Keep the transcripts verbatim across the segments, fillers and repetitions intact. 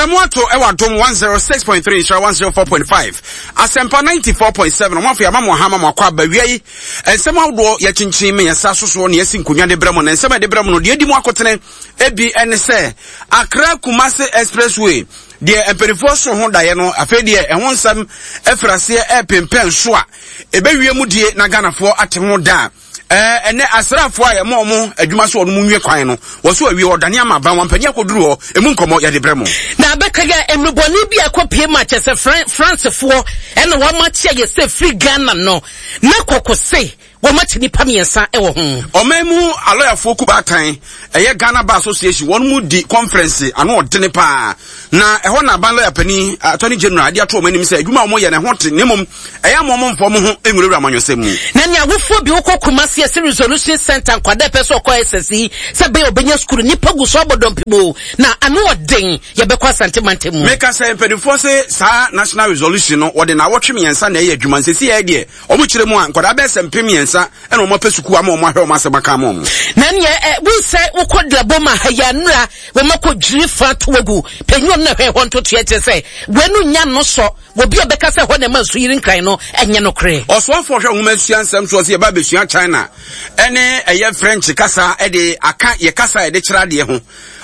Prɛmo ato ɛwɔ Adom one oh six point three, Nhyira one oh four point five, Asɛmpa ninety-four point seven. Ɔmo afei ama mo aha ma mo akɔ aba wia yi. Nsɛm ahodoɔ yɛkyenkyen me yɛnsa sosoɔ ne yɛsi nkonnwa de brɛ mo, na nsɛm a yɛde brɛ mo no deɛ edi mu akotene ebi ɛne sɛ Accra Kumasi Expressway deɛ mpanimfoɔ so ho daeɛ no, afei deɛ ɛho nsɛm afiri aseɛ ɛrepempɛn so a ɛbɛwie mu die na Ghanafoɔ ate ho da. ɛɛ ɛnɛ asraafoɔ a yɛma ɔmo adwuma so, ɔno mu nwie kwan no wɔ so awie, ɔdane ama aban wampanin akɔduru hɔ. Emu nkɔmɔ yɛde brɛ mo. Na abɛka yɛ nnubɔne bi a ɛkɔpie mu akyɛ sɛ Fran francefoɔ ɛna wɔn akye a yɛsɛ firi Ghana no na kɔkɔ se wɔn akye nipa mmiɛnsa ɛwɔ ho. Ɔman mu alɔyafoɔ kubaatan, ɛyɛ Ghana Bar Association, wɔn mu di conference ano ɔdene paa, na ɛhɔ na aban lɔya panin, Attorney General, ade ato wɔn anim sɛ adwuma a wɔyɛ no ɛho te, ne mmom ɛyɛ ama wɔn mfa wɔn ho nwurawura amanyɔsɛm mu. Na nea awofoɔ bi wokɔ Kumasi ɛsɛ Resolution Center, nkwadaa pɛ sɛ ɔkɔ S S E sɛ bɛyɛ ɔbɛnya sukuu, nipa gu so abɔ dɔmpem na ano ɔden. Yɛbɛkɔ Asante mantam mu. Meka sɛ mpanimfoɔ se saa national resolution no wɔde naawɔtwe mmiɛnsa na ɛyɛ adwuma. Nsɛsi yɛ deɛ ɔmo kyerɛ mu a, nkwadaa bɛyɛ sɛ mpem mmiɛnsa ɛna ɔmo apɛ sukuu ama ɔmo ahwɛ ɔmo asɛm aka ama ɔmo. Na neɛ ɛ wonsɛ wokɔ Laboma ha yɛ anura wɔn akɔ dwiri fa to agu panyin na hwɛ hɔ ntotoɛ kyerɛ sɛ wɔn nya no sɔ obi a ɔbɛka sɛ hɔ na ɛma nso yiri Nkran no ɛnyɛ nokorɛ. Ɔsoafoɔ hwɛ nwoma sua nsɛm soɔ sɛ yɛba abɛsua China ɛne ɛyɛ French kasa ɛde aka yɛ kasa a yɛde kyerɛ adeɛ ho.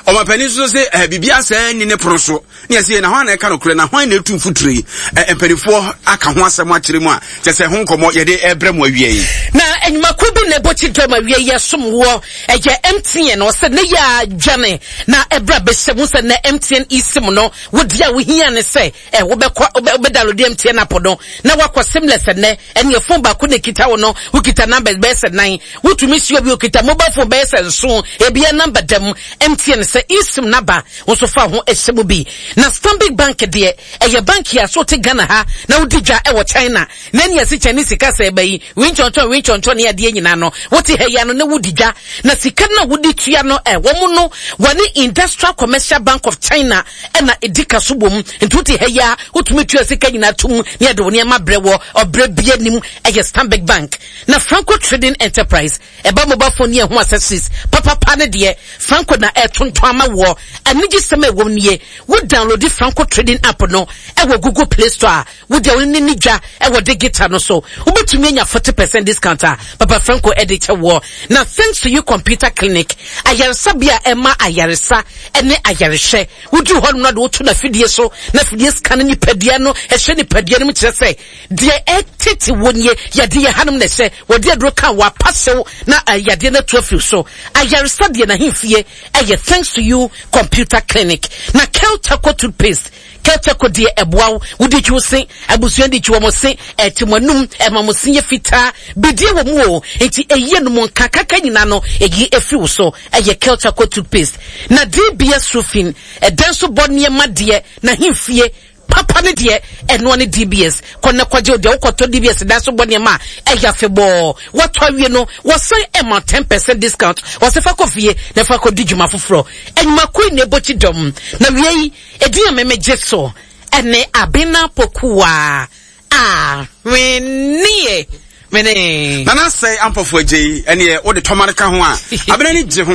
Ɔmapanin nso sɛ ɛɛ biribi asɛe ni ne pono so ne yɛsɛ na hwan na ɛka nokorɛ na hwan na ɛtu mfuturo yi? ɛ mpanimfoɔ aka ho asɛm akyerɛ mu a kyɛ sɛ ho nkɔmmɔ yɛde ɛbrɛ mu awie yi. Na enyumakuo bi na ɛbɔ kyi dɔm awie yɛ som wɔ ɛyɛ M T N. Ɔsɛ ne yɛ adwane na ɛbrɛ bɛhyɛ mu sɛ na M T N eSIM no wodi a wohia ne sɛ ɛ wobɛkɔ wobɛdownload M T N app no na wakɔ SIMless. Ɛnɛ ɛne phone baako na ekita wo no, wokita numbers bɛyɛ sɛ nan, wotumi si obi okita mobile phone bɛyɛ sɛ nson, ebia number dɛm. M T N sɛ eSIM naba nso fa ho ɛhyɛ mu bi. Na Stanbic Bank deɛ, ɛyɛ bank a so te Ghana ha na wodi dwa ɛwɔ China na ɛne ɛsi Chinese sika sɛ ɛbɛ yi winkyɔnkyɔn winkyɔnkyɔn ne adeɛ nyinaa no, wote ha yi ano na wodi dwa na sika no a wodi tua no ɛ wɔn no wɔne Industrial Commercial Bank of China ɛna edi ka so bom. Nti wote ha yi a, wotumi tua sika nyinaa tum ne yɛde wo nneɛma brɛ wɔ ɔbrɛ bi anim. Ɛyɛ Stanbic Bank. Na Franco Trading Enterprise ɛba mobile phone ne ɛho accessories papapa ne deɛ Franco na ɛtontɔn ama wɔ. Anigye sɛm a ɛwɔ mu nie: wo download Franco Trading app no ɛwɔ Google Play Store a, wode wo ne ne dwa ɛwɔ digital no so, wobɛtumi anya forty percent discount a Papa Franco ɛde kyɛ wɔ. Na Thanks to You Computer Clinic, ayaresabea a ɛma ayaresa ɛne ayarehwɛ, woduru hɔ nom na de woto n'afidie so na afidie scan nipadua no, ɛhwɛ nipadua no mu kyerɛ sɛ deɛ ɛtete wɔ nie, yadeɛ yɛ hanom na ɛhyɛ wɔde aduro ka wapa hyew na yadeɛ no atu afiri so. Ayaresa deɛ n'ahemfie ɛyɛ Thanks to You Computer Clinic. Na Kel Charcoal toothpaste, Kel Charcoal deɛ ɛboa wo, wode twi wo se, abusua de twi wɔn se, ɛte mo anum, ɛma mo se yɛ fitaa. Bidie wɔ mu o, nti ɛyie no mu nkakaka nyinaa no ɛyi efiri wo so. Ɛyɛ Kel Charcoal toothpaste. Na D B S Roofing, ɛdan so bɔ nneɛma deɛ n'ahemfie papa ne deɛ ɛnoa ne D B S. Kɔ na kɔgye deɛ wokɔtɔ D B S dan so bɔ nneɛma a ɛyɛ afebɔɔ. Wɔtɔ awie no, wɔsan ɛma ten percent discount. Wɔsɛ fa kɔ fie na fa kɔ di dwuma foforɔ. Enyumakuo na ebɔ kyi dɔm na wie yi edin a mɛmɛ gye so ɛne Abena Pokuwa a hwenie mene. Nana Sɛ Ampɔfo agye yi ɛneɛ wode tɔma no ka ho a, Abena ni gye ho.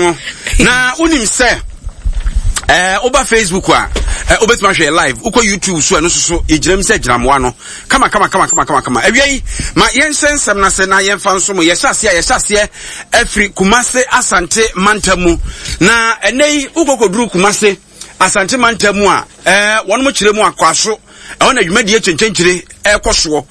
Na wonim sɛ ɛɛ woba Facebook a, ɛɛ wobɛtumi ahwɛ live. Wokɔ YouTube so, ɛno nso so yɛgyina mu sɛ gyinamoa no kama kama kama kama kama kama. Awia yi ma yɛnhyɛ nsɛm no ase na yɛmfa nso mo. Yɛhyɛ aseɛ a, yɛhyɛ aseɛ afiri Kumase Asante mantam mu. Na ɛnɛ yi wokɔkɔduru Kumase Asante mantam mu a, ɛɛ wɔn mo kyerɛ mu akwaso ɛhɔ na dwumadie kyɛnkyɛnkyere ɛrekɔ soɔ.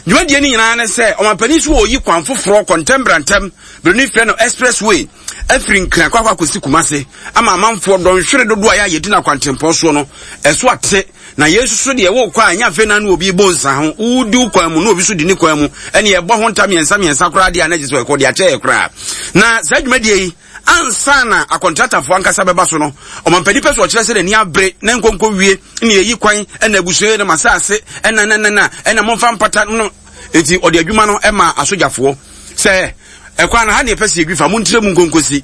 Dwumadie no nyinaa ne sɛ ɔmampanin so wɔyi kwan foforɔ kɔntɛmbrantɛm buroni frɛ no expressway afiri Nkran kɔ akɔ akɔsi Kumase ama amanfoɔ dɔnhwere dodoɔ a yɛayɛ di no akwantempɔn soɔ no ɛso ate. Na yɛn nso so deɛ wokɔ a, ɛnyɛ afei na na obi bɔ nsa ho, wodi wo kwan mu na obi so di ne kwan mu, ɛne ɛbɔ ho nta mmiɛnsa mmiɛnsa koraa deɛ a na gye sɛ ɛkɔ de akyɛ yɛ koraa. Na saa dwumadie yi, ansa na akɔntratafoɔ ankasa bɛba so no, ɔmampanin pɛ so ɔkyerɛ sɛ n'ani abere na nkonko wie ne yɛyi kwan ɛna abusua yi no ma asase ɛna na na na ɛna momfa mpata no. Nti ɔde adwuma no ɛma asogyafoɔ sɛ ɛkwan no ha ne yɛpɛ sɛ yɛdwi fa mo ntire mu nkonkosi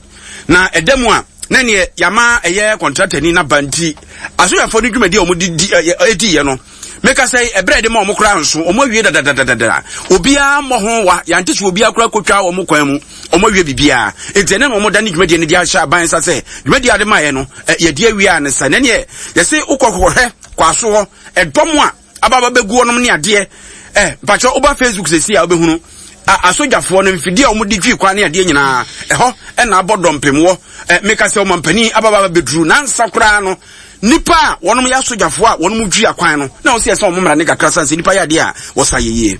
na ɛda mu a na neɛ yɛama ɛyɛ kɔntratani naba. Nti asogyafoɔ no dwumadi a wɔde di ɛdiiɛ no Meka sɛ ɛberɛ de ma ɔmo koraa nso ɔmo awie dadadadada, obiara mmɔ ho wa, yɛante so obiara koraa kotwa ɔmo kwan mu, ɔmo awie biribiara. Enti ɛnɛ na ɔmo da ne dwumadie no de ahyɛ aban nsa sɛ dwumadie ade maayɛ no, yɛde awie a ne sa. Nɛneɛ yɛse wokɔ kɔkɔhwɛ kwaso hɔ ɛdɔm a ababa bɛgu hɔnom ne adeɛ. Ɛ mpakyɛ woba Facebook sɛsi a wobɛhunu asogyafoɔ no mfidie a wɔde twi kwan ne adeɛ nyinaa ɛhɔ ɛna abɔ dɔmpem wɔ. Meka sɛ ɔmampanin ababa bɛduru nansa koraa no, nipa a wɔnom yɛ asogyafoɔ a wɔnom twi akwan no na wɔsi ɛsɛ wɔn mmara ne kakra san sɛ nipa yɛ adeɛ a wɔsa yɛ yie.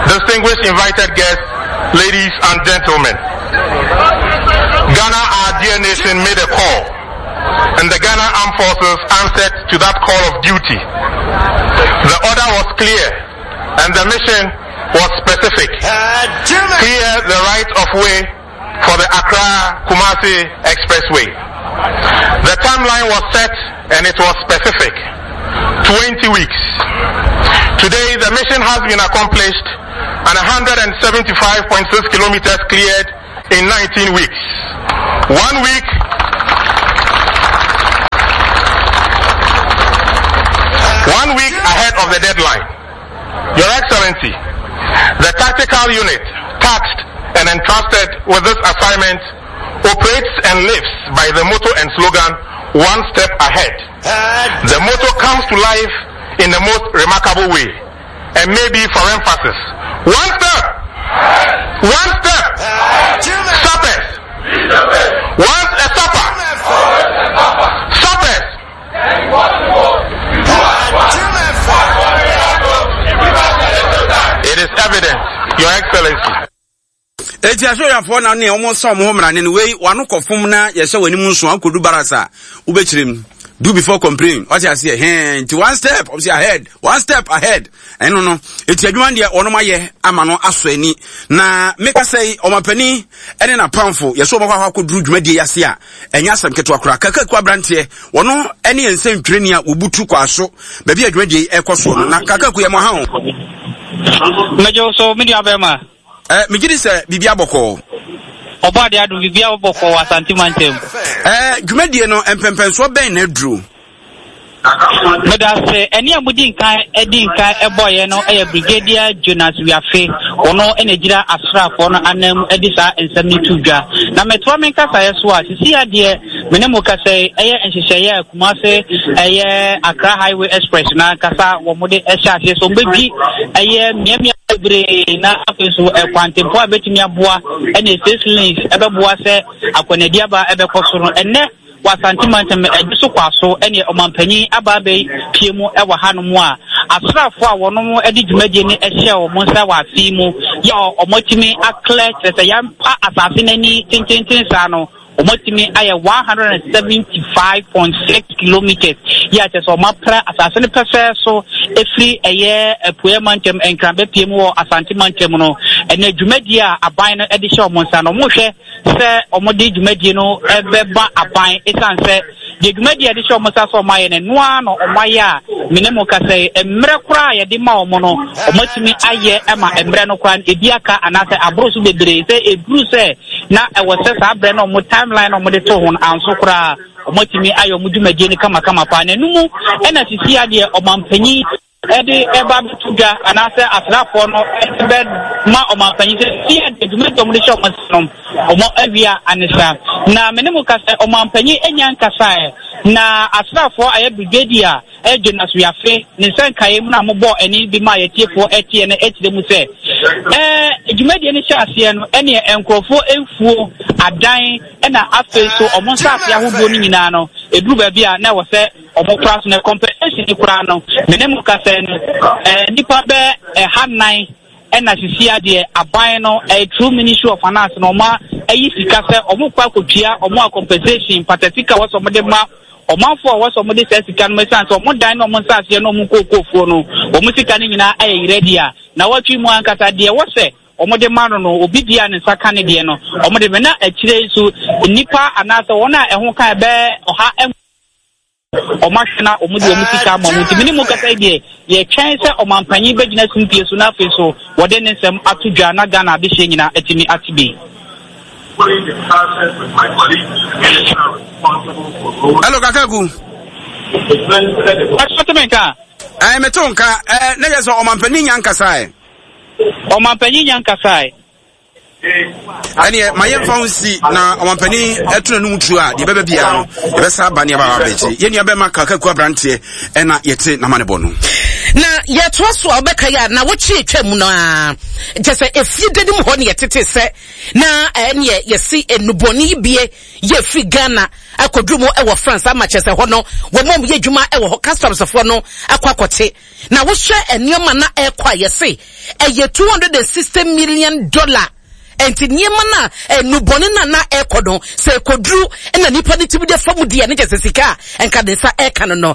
Distinguished invited guests, ladies and gentlemen, Ghana, our dear nation, made a call, and the Ghana Armed Forces answered to that call of duty. The order was clear, and the mission was specific. Clear the right of way for the Accra-Kumasi Expressway. The timeline was set and it was specific. twenty weeks. Today, the mission has been accomplished and a hundred seventy-five point six kilometers cleared in nineteen weeks. One week One week ahead of the deadline. Your Excellency, the tactical unit tasked and entrusted with this assignment operates and lives by the motto and slogan, One Step Ahead. The motto comes to life in the most remarkable way, and maybe for emphasis. One step! One step! Sappers! Once a sapper! Sappers! It is evident, Your Excellency. Eti asoyafoɔ na ne ɔmo sɛ ɔmo ho mmara ne wei wano kɔfom na yɛhyɛ w'anim nso akɔdu barasa wobɛkyerɛ mu. Do before complain. Wate aseɛ hɛn nti one step ɔmo sɛ ahead, one step ahead. Ɛno no eti adwuma deɛ ɔnom ayɛ ama no asɔ ani. Na meka sɛ ɔmapanin ɛne n'apamfo yɛsɛ ɔmo akɔ akɔduru dwumadie yi ase a ɛnyɛ asɛm ketewa koraa. Kakaku aberanteɛ wɔno ɛne yɛn nsɛntwerɛni a wɔbutu kɔ aso baabi a dwumadie yi ɛkɔ soɔ no. Na Kakaku yɛ mo ha o. Mɛgye so me nua bɛrima. Eh, megye di sɛ biribi abɔkɔɔ. Ɔbɔ ade adom biribi abɔkɔɔ wɔ Asante mantam. Eh, dwumadie no mpɛmpɛnsoɔ bɛn na aduro? Meda ase. Ɛne a mudi nkan di nkan ɛbɔeɛ no ɛyɛ Brigadier Jonas Wiafe. Ɔno ɛna gyina asraafoɔ no anan mu ɛde saa nsɛm no to dwa. Na mɛtoa me nkasaeɛ so a, sisi adeɛ me ne mo kasa yi ɛyɛ nhyehyɛeɛ a Kumase ɛyɛ Accra Highway Express na ankasa wɔn de ɛhyɛ aseɛ so wɔbɛdwi ɛyɛ mmeammea bebree na afei nso ɛkwantempɔ a ɛbɛtumi aboa ɛne six lanes ɛbɛboa sɛ akwanadi aba ɛbɛkɔ so no. Ɛnɛ wɔ Asante mantam ɛde so kɔ aso ɛne ɔmanpanyin aba abɛpie mu ɛwɔ hanom a asraafoɔ a wɔnom ɛde dwumadie no ɛhyɛ wɔn nsa wɔ afe mu yɛ wɔn atumi aklɛ kyerɛ sɛ yɛmpa asase n'ani tententen saa no wɔn atumi ayɛ one hundred and seventy-five point six kilometers yɛ akyɛ sɛ wɔn apra asase no pɛsɛ so efiri ɛyɛ Apueɛ mantam Nkran bɛpie mu wɔ Asante mantam no. Ɛnɛ dwumadie a aban no ɛde hyɛ wɔn nsa no wɔn hwɛ sɛ wɔn de dwumadie no ɛbɛba aban esan sɛ deɛ dwumadie a yɛde hyɛ wɔn nsa sɛ wɔn ayɛ no noa na wɔn ayɛ a mene mo kasa yi mmerɛ koraa a yɛde ma wɔn no wɔn atumi ayɛ ɛma mmerɛ no koraa ebi aka anaasɛ aboro so bebree sɛ eduru sɛ na ɛwɔ sɛ saa berɛ no wɔn timeline na wɔn de to ho no anso koraa wɔn atumi ayɛ wɔn dwumadie no kamakama paa. Na enum ɛna sisi adeɛ ɔmanpanyin ɛde ɛba abɛto dwa anaasɛ asraafoɔ no ɛbɛ ma ɔmanpanyin sɛ sisi adeɛ dwumadie wɔn de hyɛ wɔn nsa no wɔn awia anisa. Na mene mo kasa ɔmanpanyin enya nkasaɛ na asraafoɔ ayɛ brigadier Jonas Wiafe ne nsa nkaeɛ mu na mobɔ ɛne bi ma yɛtiefoɔ ɛteɛ no ɛkyerɛ mu sɛ ɛɛ dwumadie no hyɛ aseɛ no ɛne nkurɔfoɔ mfuo adan ɛna afei so ɔmo nsa ase ahodoɔ no nyinaa no eduru baabi a na ɛwɔ sɛ ɔmo kora so no compensation koraa no mene mo kasa no ɛɛ nipa bɛ ɛha nan ɛna sisi adeɛ aban no ɛyɛ through Ministry of Finance na ɔmo ayi sika sɛ ɔmo kɔ akɔtua ɔmo a compensation patasika wɔ sɛ ɔmo de ma ɔmanfoɔ a wɔsɔ ɔmo de saa sika no ɛsan sɛ ɔmo dan na ɔmo nsa aseɛ na ɔmo nkookofoɔ no ɔmo sika no nyinaa ayɛ yerɛ di a na wɔtwe mu ankasa deɛ wɔsɛ ɔmo de ma no no obi di a ne nsa ka ne deɛ no ɔmo de mɛ na akyire nso nnipa anaasɛ wɔn a ɛho ka ɛbɛɛ ɔha ɛho ɔmo ahwɛ na ɔmo de ɔmo sika ama ɔmo nti mene mu kasa yi deɛ yɛtwɛn sɛ ɔmanpanyin bɛgyina simpie so na afei so wɔde ne nsɛm ato dwa na Ghana adehyɛ nyinaa atumi ate bi. Hello, Kakaku. Ɛsɔtumi nka. Ɛɛ meto nka ɛɛ ne yɛ sɛ ɔmampanin nya nkasa ɛ. Ɔmampanin nya nkasa ɛ. Ɛneɛ ma yɛmfa ho nsi na ɔmampanin ɛto n'anum tuo a, deɛ ɛbɛba biara no yɛbɛsa aba ne aba abɛgye. Yɛn nua bɛma Kakaku aberanteɛ ɛna yɛte n'amanebɔ no. Na yɛtoa so a, wobɛka yɛ a na wotwe atwa mu no a, kyɛ sɛ efie da nim hɔ ne yɛtete sɛ na ɛneɛ yɛsi nnubɔne yi bie yɛ firi Ghana akɔduru mu ɛwɔ France, ama kyɛ sɛ hɔ no wɔn a wɔyɛ adwuma ɛwɔ hɔ, customsfoɔ no akɔ akɔte. Na wohwɛ nneɛma na ɛkɔ a, yɛse ɛyɛ two hundred and sixty million dollar. Nti nneɛma na nnubɔne na na ɛkɔ no, sɛ ɛkɔduru na nipa no tumi de fa mu deɛ, ne kyɛ sɛ sika a nka ne nsa ɛka no no.